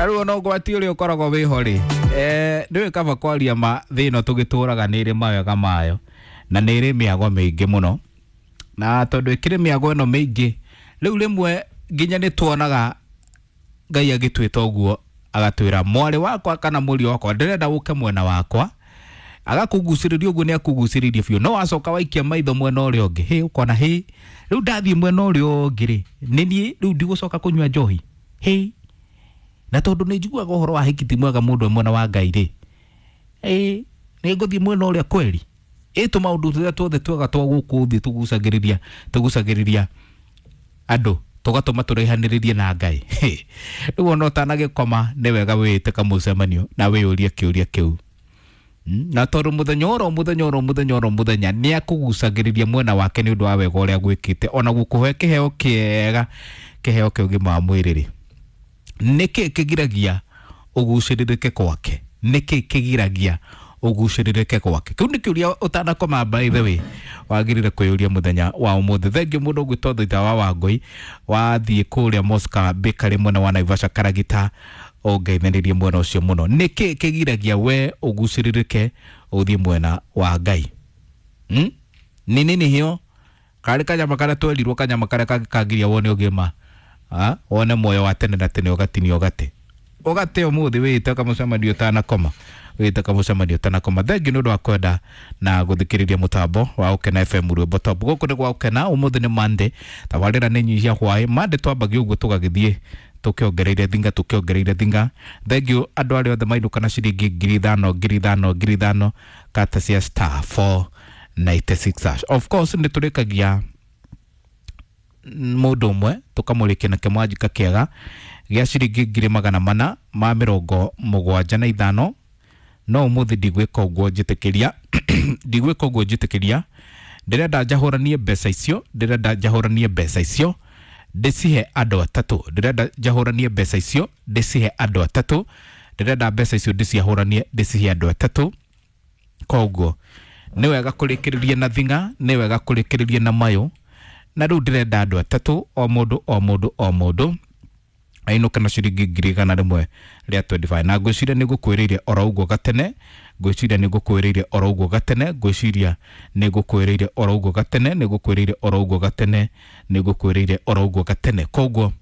Na rĩu ona ũgwati ũrĩa ũkoragwo wĩho rĩ, nĩũĩ kaba kwaria ma thĩ ĩno tũgĩtũraga nĩ ĩrĩ mawega mayo na nĩ ĩrĩ mĩago mĩingĩ mũno, na tondũ ĩkĩrĩ mĩago ĩno mĩingĩ rĩu rĩmwe nginya nĩ tuonaga Ngai agĩtwĩta ũguo agatwĩra mwarĩ wakwa kana mũriũ wakwa ndĩrenda ũke mwena wakwa, agakũgucĩrĩria ũguo nĩ akũgucĩrĩirie biũ, no wacoka waikia maitho mwena ũrĩa ũngĩ, hĩ ũkona hĩ rĩu ndathiĩ mwena ũrĩa ũngĩ rĩ, nĩ niĩ rĩu ndigũcoka kũnyua njohi, hĩ na tondũ nĩ njiguaga ũhoro wa hiki ti mwega mũndũ e mwena wa Ngai rĩ, ĩ nĩ ngũthiĩ mwena ũrĩa kweri, ĩ tũmaũndũ tũrĩa tuothe twega twa gũkũ thĩ tũgucagĩrĩria tũgucagĩrĩria andũ tũgatũma tũraihanĩrĩrie na Ngai. Rĩu ona ũtanagĩkoma nĩ wega wĩĩte kamũcemanio na wĩyũrie kĩũria kĩu. Na tondũ mũthenya oro mũthenya oro mũthenya oro mũthenya nĩ akũgucagĩrĩria mwena wake nĩ ũndũ wa wega ũrĩa agwĩkĩte, ona gũkũhe kĩheo kĩega, kĩheo kĩa ũgima wa mwĩrĩ rĩ, nĩkĩ kĩgiragia ũgucĩrĩrĩke gwake? Nĩkĩ kĩgiragia ũgucĩrĩrĩke gwake? Kĩu nĩ kĩũria ũtanakoma, by the way, wagĩrĩire kwĩyũria mũthenya wa ũmũthĩ. Thengiũ mũndũ ũgwĩtwo Thũitha wa Wangũi, wathiĩ kũrĩa Mosca Bakery mwena wa Naivasha Karagita, ũngeithanĩrie mwena ũcio mũno. Nĩkĩ kĩgiragia we ũgucĩrĩrĩke ũthiĩ mwena wa Ngai? Nĩ nini hiyo karĩ kanyama karĩa twerirwo, kanyama karĩa kangĩkangiria wone ũgima, wone muoyo wa tene na tene, ũgatinio ũgate ũgate ũmũthĩ wĩĩte kamũcemanio ũtanakoma, wĩĩte kamũcemanio ũtanakoma. Thengiũ nĩ ũndũ wa kwenda na gũthikĩrĩria mũtambo wa Ũkena FM rwĩmbo top. Gũkũ nĩ gwa Ũkena, ũmũthĩ nĩ Monday, tabarĩra nĩ nyihia hwaĩ. Monday twambagia ũguo tũgagĩthiĩ tũkĩongereire thinga, tũkĩongereire thinga. Thengiũ andũ arĩa othe mainũka na ciringi 5,000, 5,000, 5,000 kata cia star 496 hash. Of course nĩ tũrĩkagia mũndũ ũmwe tũkamũrĩkia na kĩmwanjika kĩega gĩa ciringi 475,000, no ũmũthĩ ndigwĩka ũguo njĩtĩkĩria, ndigwĩka ũguo njĩtĩkĩria. Ndĩrenda njahũranie mbeca icio, ndĩrenda njahũranie mbeca icio ndĩcihe andũ atatũ, ndĩrenda njahũranie mbeca icio ndĩcihe andũ atatũ, ndĩrenda mbeca icio ndĩciahũranie ndĩcihe andũ atatũ. Koguo nĩ wega kũrĩkĩrĩria na thinga, nĩ wega kũrĩkĩrĩria na mayũ, na rĩu ndĩrenda andũ atatũ, o mũndũ o mũndũ o mũndũ ainũke na ciringi 125,000. Na ngwĩciria nĩ ngũkwĩrĩire oro ũguo gatene, ngwĩciria nĩ ngũkwĩrĩire oro ũguo gatene, ngwĩciria nĩ ngũkwĩrĩire oro ũguo gatene, nĩ ngũkwĩrĩire oro ũguo gatene, nĩ ngũkwĩrĩire oro ũguo gatene. Koguo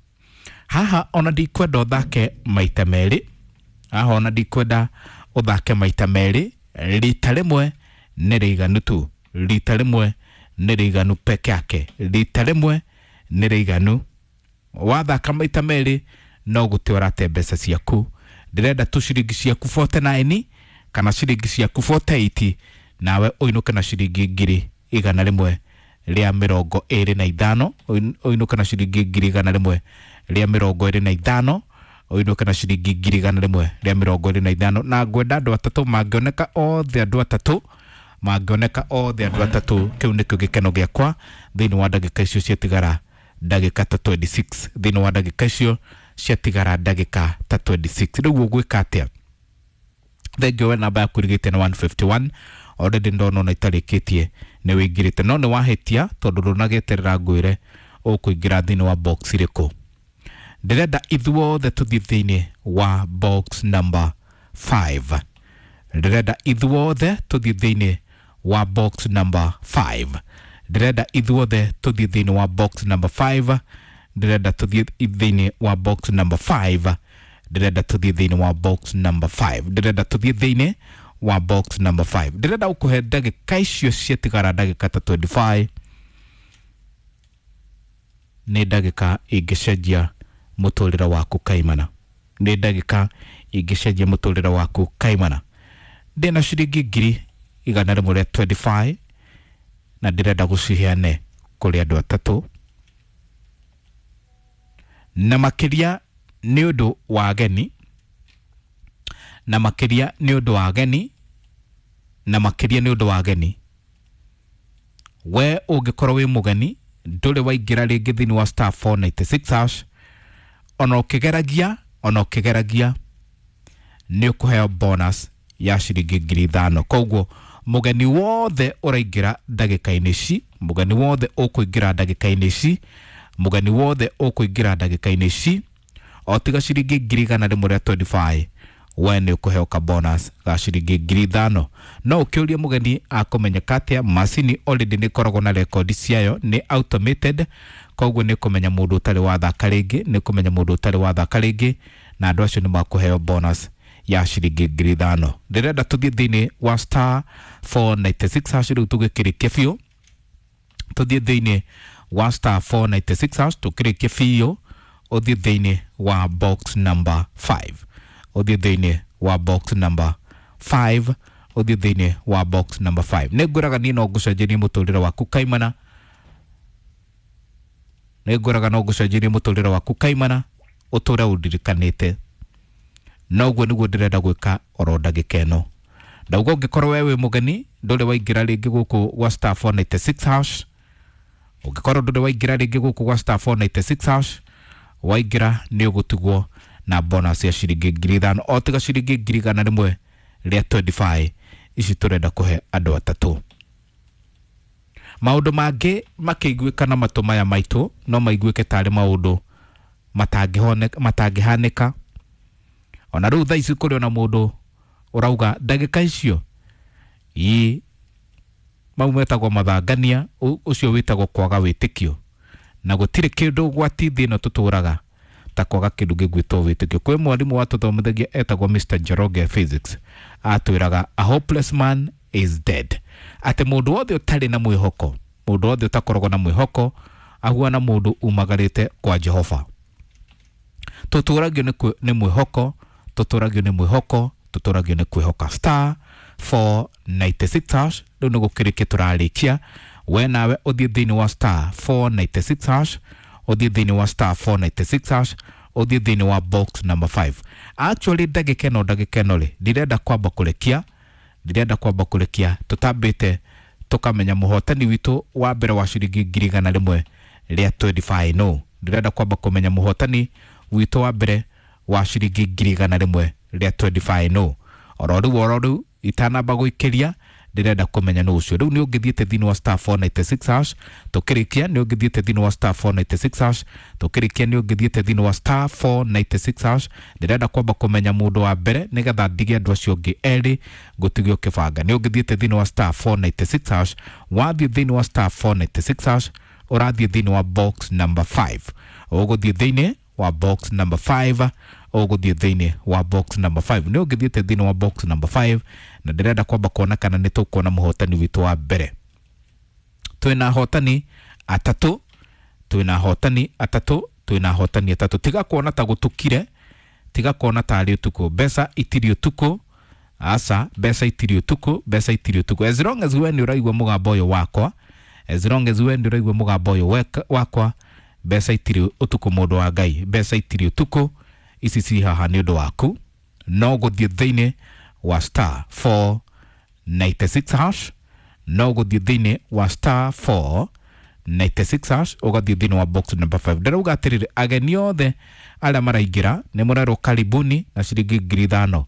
haha ona ndikwenda ũthake maita merĩ, haha ona ndikwenda ũthake maita merĩ, rita rĩmwe nĩ rĩiganu tu, rita rĩmwe nĩ rĩiganu peke yake, rita rĩmwe nĩ rĩiganu. Wathaka maita merĩ no gũte ũrate mbeca ciaku. Ndĩrenda tu ciringi ciaku 49 kana ciringi ciaku 48, nawe ũinũke na ciringi 125,000, ũinũke na ciringi 125,000, ũinũke na ciringi 125,000. Na ngwenda andũ atatũ mangĩoneka othe, andũ atatũ mangĩoneka othe, andũ atatũ, kĩu nĩkĩo gĩkeno gĩakwa thĩinĩ wa ndagĩka icio ciatigara ndagĩka ta 26, thĩinĩ wa ndagĩka icio ciatigara ndagĩka ta 26. Rĩu ũgwĩka atĩa? Thengiũ we namba yaku ĩrigĩte na 151, already ndona ona itarĩkĩtie nĩ wĩingĩrĩte, no nĩ wahĩtia tondũ ndũnagĩeterera ngwĩre ũkũingĩra thĩinĩ wa box ĩrĩkũ. Ndĩrenda ithuothe tũthiĩ thĩinĩ wa box number 5, ndĩrenda ithuothe tũthiĩ thĩinĩ wa box number 5, ndĩrenda ithuothe tũthiĩ thĩinĩ wa box number 5, ndĩrenda tũthiĩ thĩinĩ wa box number 5, ndĩrenda tũthiĩ thĩinĩ wa box number 5, ndĩrenda tũthiĩ thĩinĩ wa box number 5. Ndĩrenda gũkũhe ndagĩka icio ciatigara ndagĩka ta 25, nĩ ndagĩka ingĩcenjia mũtũrĩre waku kaimana, nĩ ndagĩka ingĩcenjia mũtũrĩre waku kaimana. Ndĩna ciringi 125,000 na ndĩrenda gũciheane kũrĩ andũ atatũ, na makĩria nĩ ũndũ wa ageni, na makĩria nĩ ũndũ wa ageni, na makĩria nĩ ũndũ wa ageni. We ũngĩkorwo wĩ mũgeni ndũrĩ waingĩra rĩngĩ thĩinĩ wa star 496 hash, ona ũkĩgeragia, ona ũkĩgeragia nĩ ũkũheo bonus ya ciringi 5,000. Koguo mũgeni wothe ũraingĩra ndagĩka-inĩ ici, mũgeni wothe ũkũingĩra ndagĩka-inĩ ici, mũgeni wothe ũkũingĩra ndagĩka-inĩ ici, O tiga ciringi 100,000 rĩa 25, we nĩ ũkũheo ka bonus ga ciringi 5,000. No ũkĩũrie mũgeni akũmenyeka atĩa? Macini already nĩ ĩkoragwo na rekondi ciayo, nĩ automated, koguo nĩ kũmenya mũndũ ũtarĩ wathaka rĩngĩ, nĩ kũmenya mũndũ ũtarĩ wathaka rĩngĩ, na andũ acio nĩ makũheo bonus ya ciringi 5,000. Ndĩrenda tũthiĩ thĩinĩ wa star 496 hash rĩu tũgĩkĩrĩkia biũ. Tũthiĩ thĩinĩ wa star 496 hash tũkĩrĩkie biũ, ũthiĩ thĩinĩ wa box number 5, ũthiĩ thĩinĩ wa box number 5, ũthiĩ thĩinĩ wa box number 5. Nĩ ngwĩraga niĩ no ngũcenjerie mũtũrĩre waku kaimana, nĩ ngwĩraga no ngũcenjerie mũtũrĩre waku kaimana, ũtũre ũndirikanĩte. Noguo nĩguo ndĩrenda gwĩka oro ndagĩka ĩno. Ndauga ũngĩkorwo we wĩ mũgeni, ndũrĩ waingĩra rĩngĩ gũkũ gwa star 496 hash, ũngĩkorwo ndũrĩ waingĩra rĩngĩ gũkũ gwa star 496 hash, waingĩra nĩ ũgũtigwo na bonus ya ciringi 5,000, o tiga ciringi 100,000 rĩa 25 ici tũrenda kũhe andũ atatũ. Maũndũ mangĩ makĩiguĩka na matũ maya maitũ no maiguĩke tarĩ maũndũ matangĩhanĩka. Ona rĩu thaa ici kũrĩ ona mũndũ ũrauga ndagĩka icio ii mau metagwo mathangania, ũcio wĩtagwo kwaga wĩtĩkio, na gũtirĩ kĩndũ gwati thĩ ĩno tũtũraga ta kwaga kĩndũ gĩgwĩtwo wĩtĩkio. Kwĩ mwarimũ watũthomithagia etagwo Mr. Njoroge physics, atwĩraga a hopeless man is dead, atĩ mũndũ wothe ũtarĩ na mwĩhoko, mũndũ wothe ũtakoragwo na mwĩhoko ahuana mũndũ umagarĩte kwa Jehova. Tũtũragio nĩ mwĩhoko, tũtũragio nĩ mwĩhoko, tũtũragio nĩ kwĩhoka. Star 496 hash, rĩu nĩ gũkĩrĩkia tũrarĩkia. We nawe ũthiĩ thĩinĩ wa star 496 hash, ũthiĩ thĩinĩ wa star 496 hash, ũthiĩ thĩinĩ wa box number 5. Actually ndagĩka ĩno rĩ, ndirenda kwamba kũrekia, ndirenda kwamba kũrekia tũtambĩte tũkamenya mũhotani witũ wa mbere wa ciringi 100,000 rĩa 25. No ndĩrenda kwamba kũmenya mũhotani witũ wa mbere wa ciringi 100,000 rĩa 25. No oro rĩu itanamba gũikĩria, ndĩrenda kũmenya nũ ũcio. Rĩu nĩ ũngĩthiĩte thĩinĩ wa star 496 hash tũkĩrĩkia, nĩ ũngĩthiĩte thĩinĩ wa star 496 hash tũkĩrĩkia, nĩ ũngĩthiĩte thĩinĩ wa star 496 hash. Ndĩrenda kwamba kũmenya mũndũ wa mbere nĩgetha ndige andũ acio angĩ erĩ ngũtige ũkĩbanga. Nĩ ũngĩthiĩte thĩinĩ wa star 496 hash, wathiĩ thĩinĩ wa star 496 hash, ũrathiĩ thĩinĩ wa box number 5, ũgũthiĩ thĩinĩ wa box number 5, ũgũthiĩ thĩinĩ wa box number 5. Nĩ ũngĩthiĩte thĩinĩ wa box number 5, na ndĩrenda kwamba kuona kana nĩ tũkuona mũhotani witũ wa mbere. Twĩna ahotani atatũ, twĩna ahotani atatũ, twĩna ahotani atatũ. Tiga kuona ta gũtukire, tiga kuona ta arĩ ũtukũ. Mbeca itirĩ ũtukũ, aca, mbeca itirĩ ũtukũ, mbeca itirĩ ũtukũ. As long as we nĩ ũraigua mũgambo ũyũ wakwa, as long as we nĩ ũraigua mũgambo ũyũ wakwa, mbeca itirĩ ũtukũ, mũndũ wa Ngai, mbeca itirĩ ũtukũ. Ici ci haha nĩ ũndũ waku, no gũthiĩ thĩinĩ wa star 496 hash, no gũthiĩ thĩinĩ wa star 496 hash, ũgathiĩ thĩinĩ wa box number 5. Ndĩrauga atĩrĩrĩ, ageni othe arĩa maraingĩra nĩ mũrerwo karibuni na ciringi 5,000.